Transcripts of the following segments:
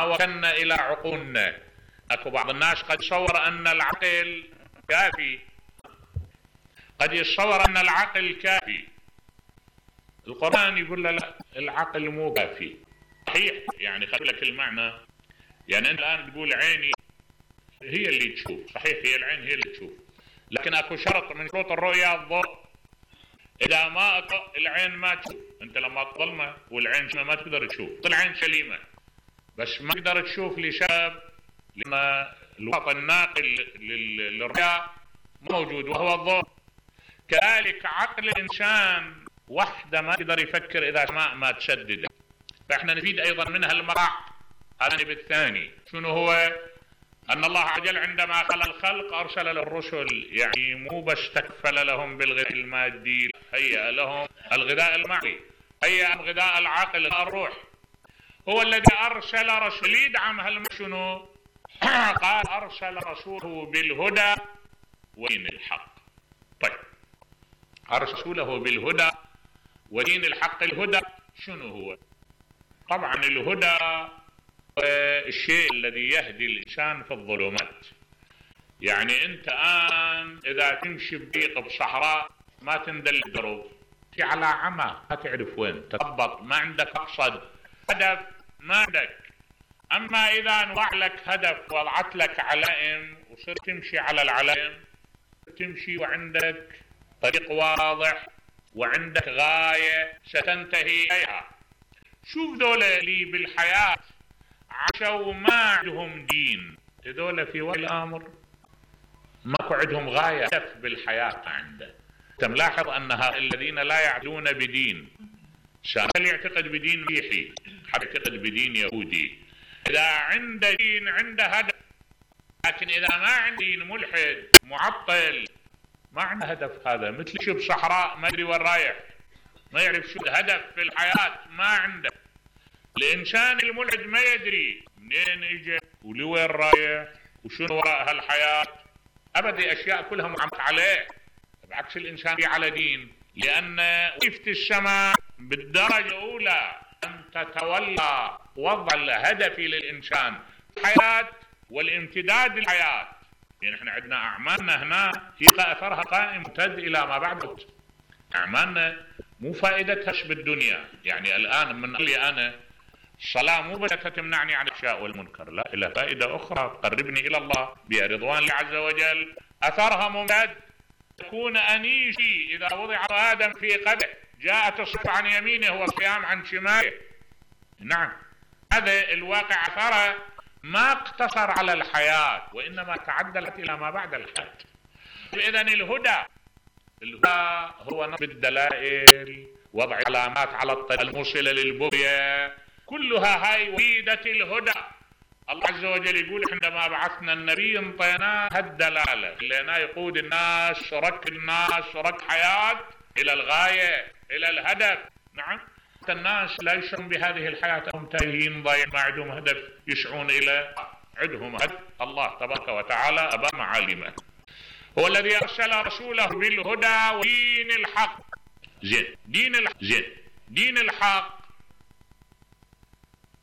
ما وكلنا إلى عقولنا. أكو بعض الناس قد يتصور أن العقل كافي، قد يتصور أن العقل كافي. القرآن يقول له لا، العقل مو كافي. صحيح، يعني خلي لك المعنى. يعني أنت الآن تقول عيني هي اللي تشوف، صحيح هي العين هي اللي تشوف، لكن أكو شرط من شروط الرؤية الضوء. إذا ما العين ما تشوف. أنت لما تظلمة والعين ما تقدر تشوف، العين سليمة بس ما تقدر تشوف لسبب لما الوسط الناقل للرؤية موجود وهو الضوء. كذلك عقل الإنسان وحده ما يقدر يفكر إذا السماء ما تسدد. فإحنا نفيد أيضا منها المراع الجانب الثاني. شنو هو؟ أن الله عز وجل عندما خلق الخلق أرسل للرسل، يعني مو بس تكفل لهم بالغذاء المادي، هيأ لهم الغذاء المعنوي، هيأ غذاء العقل الروح. هو الذي أرسل رسول يدعم شنو؟ قال أرسل رسوله بالهدى ودين الحق. طيب، أرسل رسوله بالهدى ودين الحق. الهدى شنو هو؟ طبعا الهدى الشيء الذي يهدي الإنسان في الظلمات. يعني أنت الآن إذا تمشي بضيق بصحراء ما تندل الدروب، في على عمى ما تعرف وين تخبط، ما عندك مقصد، هدف ما عندك. أما إذا نوع لك هدف وضعت لك علائم وصرت تمشي على العلائم، تمشي وعندك طريق واضح وعندك غاية ستنتهي إليها. شوف ذولا اللي بالحياة عاشوا ما عندهم دين، هذول في وقت الأمر ماكو عندهم غاية، هدف بالحياة عنده. أنت ملاحظ أن هؤلاء الذين لا يعتقدون بدين، اللي يعتقد بدين مسيحي، حد يعتقد بدين يهودي، إذا عنده دين عنده هدف. لكن إذا ما عنده دين ملحد معطل ما عنده هدف. هذا مثل شو بصحراء ما يدري وين رايح، ما يعرف شو الهدف في الحياة، ما عنده. الإنسان الملحد ما يدري منين اجى ولوين رايح وشنو وراء هالحياة أبدا، أشياء كلها معمق عليه. بعكس الإنسان على دين، لأن وظيفة السماء بالدرجة الأولى أن تتولى وضع الهدف للإنسان الحياة والامتداد للحياة. يعني احنا عندنا أعمالنا هنا هي أثرها قائم ممتد إلى ما بعد الموت. أعمالنا مو فائدتها بالدنيا. يعني الآن من قال لي أنا الصلاة مو بس تمنعني عن الأشياء والمنكر، لا، إلى فائدة أخرى تقربني إلى الله بها رضوان الله عز وجل. أثرها ممتد. تكون أنيسي إذا وضع آدم في قبره جاءت الصف عن يمينه والصيام عن شماله. نعم، هذا الواقع أثره ما اقتصر على الحياة وإنما تعدلت إلى ما بعد الحياة. إذن الهدى هو نصب الدلائل، وضع علامات على الطريق الموصلة للبغية، كلها هاي وحيدة الهدى. الله عز وجل يقول عندما بعثنا النبي انطيناه الدلالة، خليناه يقود الناس، رك الناس رك حياة إلى الغاية إلى الهدف. نعم، الناس لا يشعرون بهذه الحياة، هم تايهين ضايعين ما عندهم هدف يسعون إلى عندهم هدف. الله تبارك وتعالى أبى معالمه. هو الذي أرسل رسوله بالهدى ودين الحق. دين الحق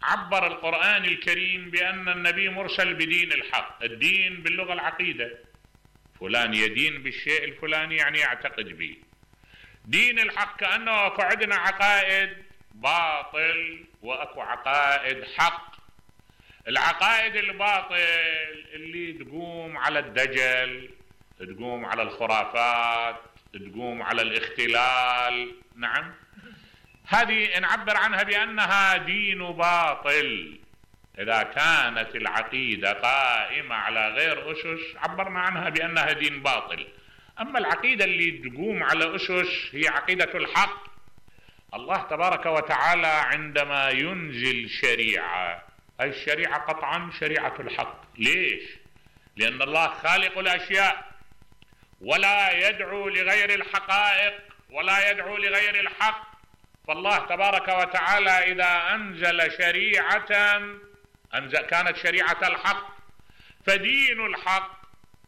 عبر القرآن الكريم بأن النبي مرسل بدين الحق. الدين باللغة العقيدة، فلان يدين بالشيء الفلاني يعني يعتقد به. دين الحق كأنه أكو عندنا عقائد باطل وأكو عقائد حق. العقائد الباطل اللي تقوم على الدجل، تقوم على الخرافات، تقوم على الاختلال، نعم، هذه نعبر عنها بأنها دين باطل. إذا كانت العقيدة قائمة على غير أسس عبرنا عنها بأنها دين باطل. أما العقيدة اللي تقوم على أسس هي عقيدة الحق. الله تبارك وتعالى عندما ينزل شريعة، أي الشريعة قطعا شريعة الحق. ليش؟ لأن الله خالق الأشياء ولا يدعو لغير الحقائق ولا يدعو لغير الحق. فالله تبارك وتعالى إذا أنزل شريعة كانت شريعة الحق. فدين الحق